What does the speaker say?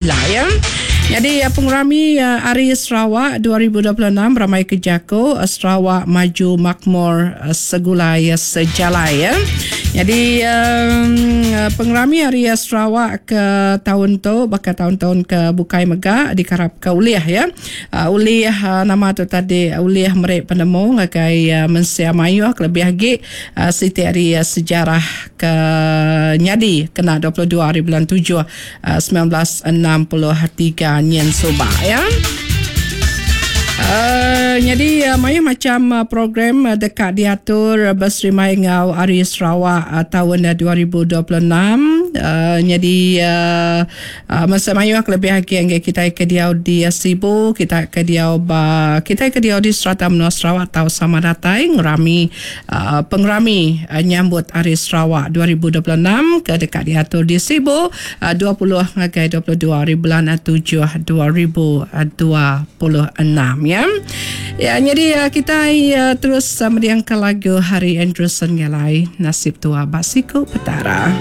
Ila ya. Nyadi pengerami Hari Sarawak 2026 ramai ke jaku Sarawak Maju Makmur Segulai Sejalai ya. Nyadi pengerami Hari Sarawak ke taun tu baka taun-taun ke bukai mega dikarapka ulih ya. Ulih nama tu tadi ulih meri penemu ngagai mensia mayuh kelebih agi siti ari sejarah ke nyadi kena 22 hari bulan tujuh 1963 nyin suba ya. Uh, nyadi uh, mayuh macam uh, program uh, deka diatur beserimai enggau Hari Sarawak uh, tahun uh, 2026. Uh, nyadi uh, uh, masa mayuh kelebih agi enggai kita ke diau di Sibu, kita ke diau ba kita ke diau di serata menua Sarawak tau sama datai ngerami Pengerami nyambut Hari Sarawak 2026 ke deka diatur di Sibu 20 ngagai 22 hari bulan tujuh 2026 ya. Ya nyadi kitai terus mendingka lagu Hari Andrewson Ngalai Nasib Tua Ba Siku Petara.